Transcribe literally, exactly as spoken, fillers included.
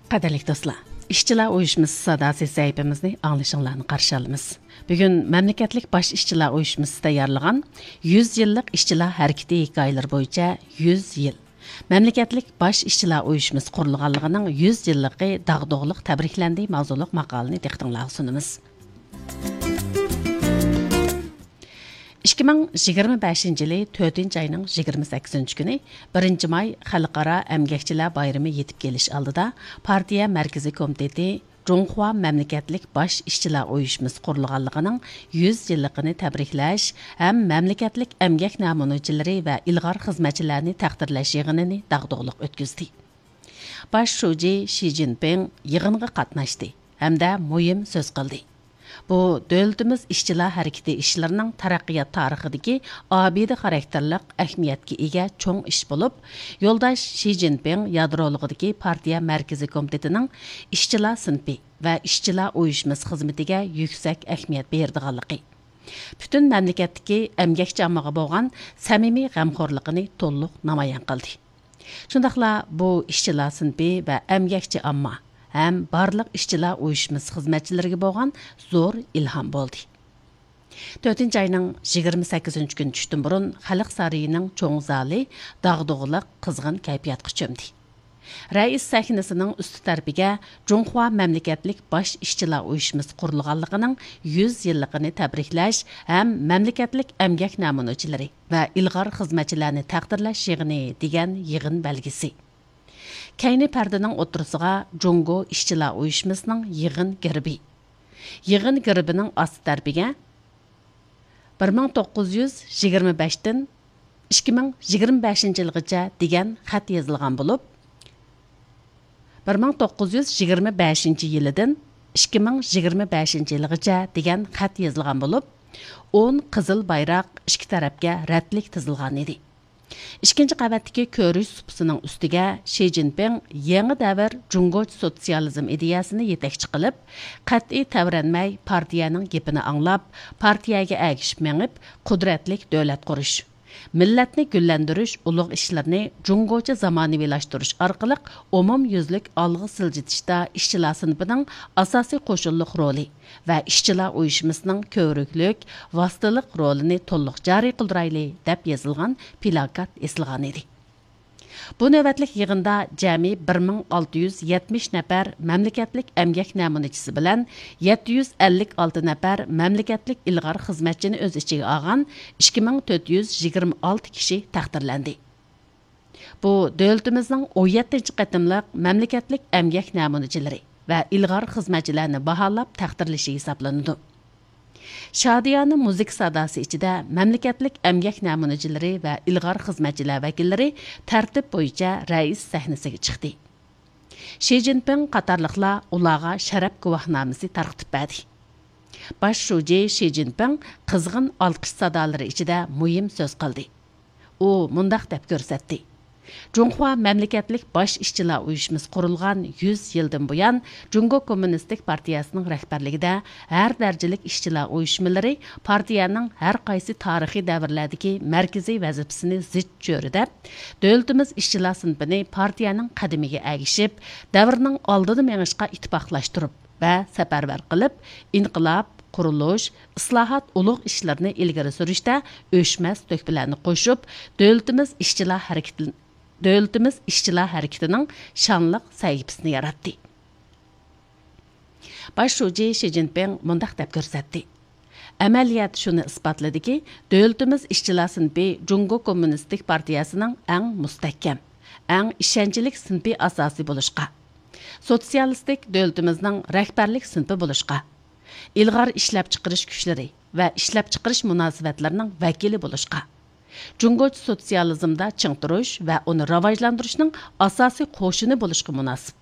قەدىرلىك دوستلار، ئىشچىلار ئۇيۇشمىسى ساداسى سەھىپىمىزنى ئاڭلىشىڭلارنى قارشى ئالىمىز. بۈگۈن مەملىكەتلىك باش ئىشچىلار ئۇيۇشمىسى تەييارلىغان يۈز يىللىق ئىشچىلار ھەرىكىتى ھېكايىلىرى بويىچە يۈز يىل، مەملىكەتلىك باش ئىشچىلار ئۇيۇشمىسى قۇرۇلغانلىقىنىڭ يۈز يىللىقى داغدۇغىلىق تەبرىكلەندى ماۋزۇلۇق ماقالىنى دىققىتىڭلارغا سۇنىمىز. ئىككى مىڭ يىگىرمە بەشىنچى يىلى تۆتىنچى ئاينىڭ يىگىرمە سەككىزىنچى كۈنى، بىرىنچى ماي خەلقئارا ئەمگەكچىلەر بايرىمى يېتىپ كېلىش ئالدىدا، پارتىيە مەركىزىي كومىتېتى جۇڭخۇا مەملىكەتلىك باش ئىشچىلار ئۇيۇشمىسى قۇرۇلغانلىقىنىڭ يۈز يىللىقىنى تەبرىكلەش ھەم مەملىكەتلىك ئەمگەك نەمۇنىچىلىرى ۋە ئىلغار خىزمەتچىلەرنى تەقدىرلەش يىغىنىنى داغدۇغىلىق ئۆتكۈزدى. باش شۇجى شى جىنپىڭ يىغىنغا قاتناشتى ھەمدە مۇھىم سۆز قىلدى. بۇ دۆلىتىمىز ئىشچىلار ھەرىكىتى ئىشلىرىنىڭ تەرەققىيات تارىخىدىكى ئابىدە خاراكتېرلىق ئەھمىيەتكە ئىگە چوڭ ئىش بولۇپ، يولداش شى جىنپىڭ يادرولۇقىدىكى پارتىيە مەركىزىي كومىتېتىنىڭ ئىشچىلار سىنىپى ۋە ئىشچىلار ئۇيۇشمىسى خىزمىتىگە يۈكسەك ئەھمىيەت بېرىدىغانلىقى، پۈتۈن مەملىكەتتىكى ئەمگەكچى ئاممىغا بولغان سەمىمىي غەمخورلۇقىنى تولۇق نامايان قىلدى. شۇنداقلا بۇ ئىشچىلار سىنىپى ۋە ئەمگەكچى ئامما ھەم بارلىق ئىشچىلار ئۇيۇشمىسى خىزمەتچىلىرىگە بولغان زور ئىلھام بولدى. تۆتىنچى ئاينىڭ يىگىرمە سەككىزىنچى كۈنى چۈشتىن بۇرۇن خەلق سارىيىنىڭ چوڭ زالى داغدۇغىلىق، قىزغىن كەيپىياتقا چۆمدى. رەئىس سەھنىسىنىڭ ئۈستى تەرىپىگە جۇڭخۇا مەملىكەتلىك باش ئىشچىلار ئۇيۇشمىسى قۇرۇلغانلىقىنىڭ يۈز يىللىقىنى تەبرىكلەش ھەم مەملىكەتلىك ئەمگەك نەمۇنىچىلىرى ۋە ئىلغار خىزمەتچىلەرنى تەقدىرلەش يىغىنى دېگەن يىغىن بەلگىسى. كەينى پەردىنىڭ ئوتتۇرىسىغا جۇڭگو ئىشچىلار ئۇيۇشمىسىنىڭ يىغىن گېربى. يىغىن گېربىنىڭ ئاستى تەرىپىگە بىر مىڭ توققۇز يۈز يىگىرمە بەشتىن ئىككى مىڭ يىگىرمە بەشىنچى يىلغىچە دېگەن خەت يېزىلغان بولۇپ، بىر مىڭ توققۇز يۈز يىگىرمە بەشىنچى يىلىدىن ئىككى مىڭ يىگىرمە بەشىنچى يىلغىچە دېگەن خەت يېزىلغان بولۇپ، ئون قىزىل بايراق ئىككى تەرەپكە رەتلىك تىزىلغان ئىدى. ئىككىنچى قەۋەتتىكى كۆرۈش سۇپىسىنىڭ ئۈستىگە شى جىنپىڭ يېڭى دەۋر جۇڭگوچە سوتسىيالىزم ئىدىيەسىنى يېتەكچى قىلىپ، قەتئىي تەۋرەنمەي پارتىيەنىڭ گېپىنى ئاڭلاپ، پارتىيەگە ئەگىشىپ مېڭىپ، قۇدرەتلىك دۆلەت قۇرۇش، مىللەتنى گۈللەندۈرۈش ئۇلۇغ ئىشلىرىنى جۇڭگوچە زامانىۋىلاشتۇرۇش ئارقىلىق ئومۇميۈزلۈك ئالغا سىلجىتىشتا ئىشچىلار سىنىپىنىڭ ئاساسىي قوشۇنلۇق رولى ۋە ئىشچىلار ئۇيۇشمىسىنىڭ كۆۋرۈكلۈك، ۋاسىتىلىق رولىنى تولۇق جارى قىلدۇرايلى، دەپ يېزىلغان پىلاكات ئېسىلغانىدى. بۇ نۆۋەتلىك يىغىندا جەمئىي بىر مىڭ ئالتە يۈز يەتمىش نەپەر مەملىكەتلىك ئەمگەك نەمۇنىچىسى بىلەن يەتتە يۈز ئەللىك ئالتە نەپەر مەملىكەتلىك ئىلغار خىزمەتچىنى ئۆز ئىچىگە ئالغان ئىككى مىڭ تۆت يۈز يىگىرمە ئالتە كىشى تەقدىرلەندى. بۇ دۆلىتىمىزنىڭ ئون يەتتىنچى قېتىملىق مەملىكەتلىك ئەمگەك نەمۇنىچىلىرى ۋە ئىلغار خىزمەتچىلەرنى باھالاپ تەقدىرلىشى ھېسابلىنىدۇ. شادىيانە مۇزىكا ساداسى ئىچىدە مەملىكەتلىك ئەمگەك نەمۇنىچىلىرى ۋە ئىلغار خىزمەتچىلەر ۋەكىللىرى تەرتىپ بويىچە رەئىس سەھنىسىگە چىقتى. شى جىنپىڭ قاتارلىقلار ئۇلارغا شەرەپ گۇۋاھنامىسى تارقىتىپ بەردى. باش شۇجى شى جىنپىڭ قىزغىن ئالقىش سادالىرى ئىچىدە مۇھىم سۆز قىلدى. ئۇ مۇنداق دەپ كۆرسەتتى: جۇڭخۇا مەملىكەتلىك باش ئىشچىلار ئۇيۇشمىسى قۇرۇلغان يۈز يىلدىن بۇيان، جۇڭگو كوممۇنىستىك پارتىيەسىنىڭ رەھبەرلىكىدە ھەر دەرىجىلىك ئىشچىلار ئۇيۇشمىلىرى پارتىيەنىڭ ھەر قايسى تارىخىي دەۋرلەردىكى مەركىزىي ۋەزىپىسىنى زىچ چۆرىدەپ، دۆلىتىمىز ئىشچىلار سىنىپىنى پارتىيەنىڭ قەدىمىگە ئەگىشىپ، دەۋرنىڭ ئالدىدا مېڭىشقا ئىتتىپاقلاشتۇرۇپ، ۋە سەپەرۋەر قىلىپ، ئىنقىلاب، قۇرۇلۇش، ئىسلاھات ئۇلۇغ ئىشلىرىنى ئىلگىرى سۈرۈشتە ئۆچمەس تۆھپىلەرنى قوشۇپ، دۆلىتىمىز ئىشچىلار ھەرىكىتى، دۆلىتىمىز ئىشچىلار ھەرىكىتىنىڭ شانلىق سەھىپىسىنى ياراتتى. باش شۇجى شى جىنپىڭ مۇنداق دەپ كۆرسەتتى: ئەمەلىيەت شۇنى ئىسپاتلىدىكى، دۆلىتىمىز ئىشچىلار سىنىپى جۇڭگو كوممۇنىستىك پارتىيەسىنىڭ ئەڭ مۇستەھكەم، ئەڭ ئىشەنچلىك سىنىپىي ئاساسى بولۇشقا، سوتسىيالىستىك دۆلىتىمىزنىڭ رەھبەرلىك سىنىپى بولۇشقا، ئىلغار ئىشلەپچىقىرىش كۈچلىرى ۋە ئىشلەپچىقىرىش مۇناسىۋەتلىرىنىڭ ۋەكىلى بولۇشقا، جۇڭگوچە سوتسىيالىزمدا چىڭ تۇرۇش ۋە ئۇنى راۋاجلاندۇرۇشنىڭ ئاساسىي قوشۇنى بولۇشقا مۇناسىپ.